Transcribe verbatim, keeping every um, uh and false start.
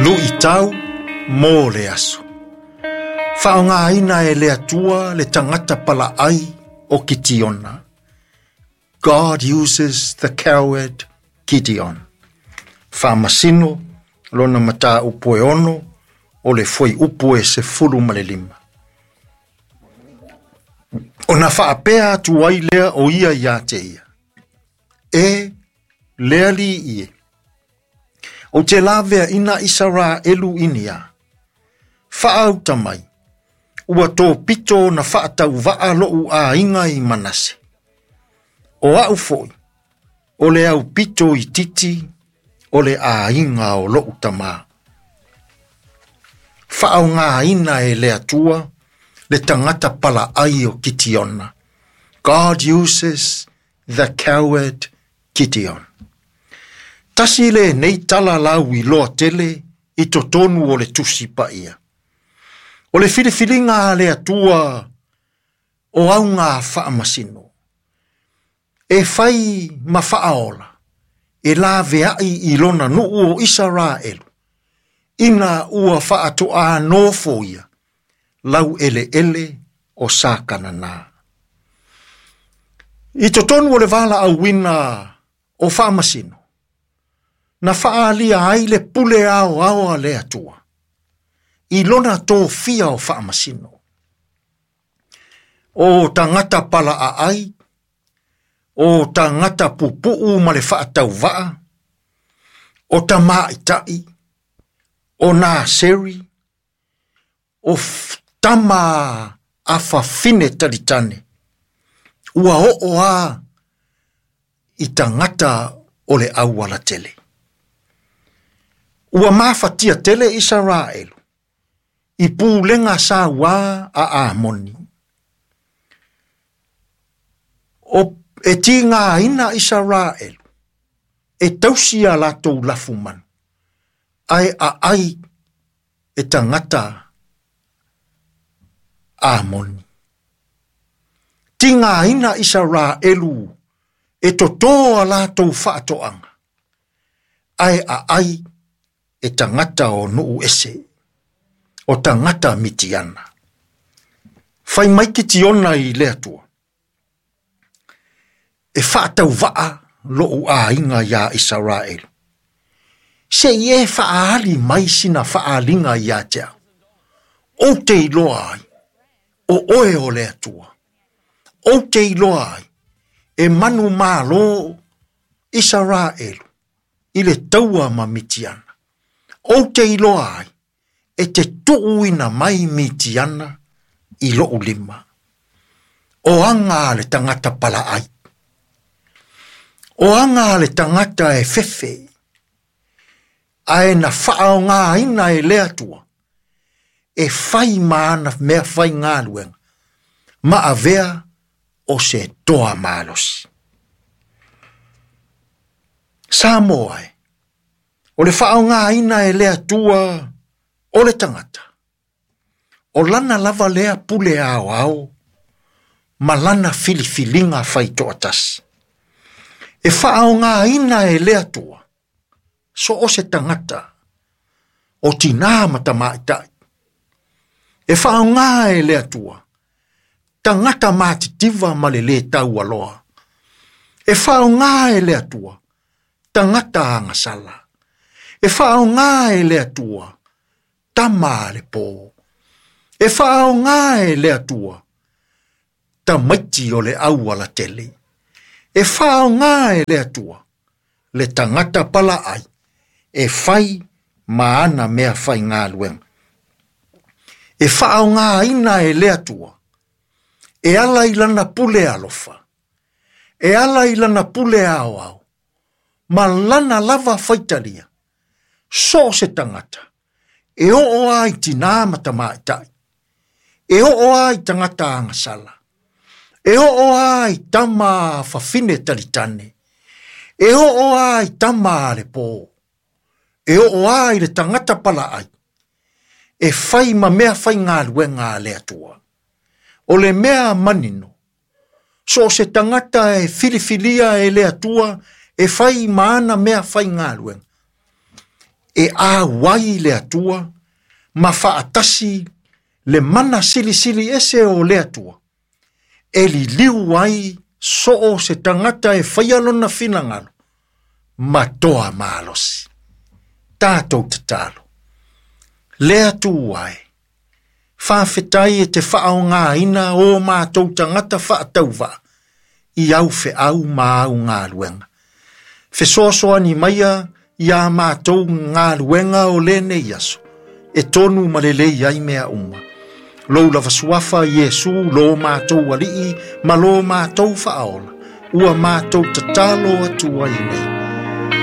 Luʻitau mo le aso. Faaaogāina e le Atua le tagata palaai o Kitiona. God uses the coward Gideon. Faamasino lona mataupu e ono o le fuaiupu e sefulu ma le lima. Ona faapea atu ai lea o ia iā te ia. E le alii e. Ou te laveaina Isaraelu i ni a. Faauta mai. Ua topito na faatauvaa lo'u aiga i Manase. O a'u fo'i, o le aupito itiiti o le aiga o lo'u tamā. Faaaogāina e le Atua le tagata palaai o Kitiona. God uses the coward Gideon. Tasi lenei tala lauiloa tele i totonu o le Tusi Paia. O le filifiliga a le Atua o auga faamasino. E fai ma faaola, e laveai i lona nuu o Isaraelu, ina ua faatoā nofoia laueleele o Sakananā. I totonu o le valaauina o faamasino, na faaalia ai le pule aoao a le Atua, i lona tofia o faamasino. O tagata palaaai, o tagata pupuu ma le faatauvaa, o tamaitai, o Naseri, o tama a fafine talitane, ua oo a i tagata o le aualatele. Ua mafatia tele Isaraelu, i pulega sauā a Amoni. O e tigaina Isaraelu, e tausi a latou lafumanu, ae aai e tagata Amoni. Tigaina Isaraelu e totō a latou faatoaga, ae aai e tagata o nuu ese, o tagata Mitiana. Fai mai Kitiona i le Atua. E faatauvaa lo'u aiga iā Isaraelu. Se i e faaali mai sina faaaliga iā te au. Ou te iloa ai, o oe o le Atua. Ou te iloa ai, e manumālō Isaraelu i le taua ma Mitiana. Ou te iloa ai, e te tuuina mai Mitiana i lo'u lima. O aga a le tagata palaai. O aga a le tagata e fefe. Ae na faaaogāina e le Atua. E fai ma ana mea faigaluega. Ma avea o se toa malosi. Samoa e. O le faaaogāina e le Atua o le tagata. O lana lava lea pule aoao ma lana filifiliga faitoatasi. E faaaogāina e le Atua so o se tagata o tinā ma tamaitai. E faaaogā e le Atua tagata matitiva ma le lē taualoa. E faaaogā e le Atua tagata agasala. E faaaogā e le Atua tama a le pō. E faaaogā e le Atua tamaiti o le aualatele. E faaaogā e le Atua le tagata palaai e fai ma ana mea faigaluega. E faaaogāina e le Atua e ala i lana pule alofa, e ala i lana pule aoao, ma lana lava faitalia, so o se tagata, e oo a i tinā ma tamaitai, e oo a i tagata agasala, e oo a i tama fafine talitane, e oo a i tama a le pō, e oo a i le tagata palaai, e fai ma mea faigaluega a le Atua. O le mea manino, so o se tagata e filifilia e le Atua e fai ma ana mea faigaluega. E auai le Atua ma faatasi le mana silisili ese o le Atua. E liliu ai soo se tagata e faia lona finagalo ma toa malosi. Tatou tatalo. Le Atua e, faafetai e te faaaogāina o matou tagata faatauvaa i au feau ma au galuega. Fesoasoani maia ia matou galuega o lenei aso, e tonu ma lelei ai mea uma. Lou lava suafa Iesu lo matou alii ma lo matou faaola, ua matou tatalo atu ai nei.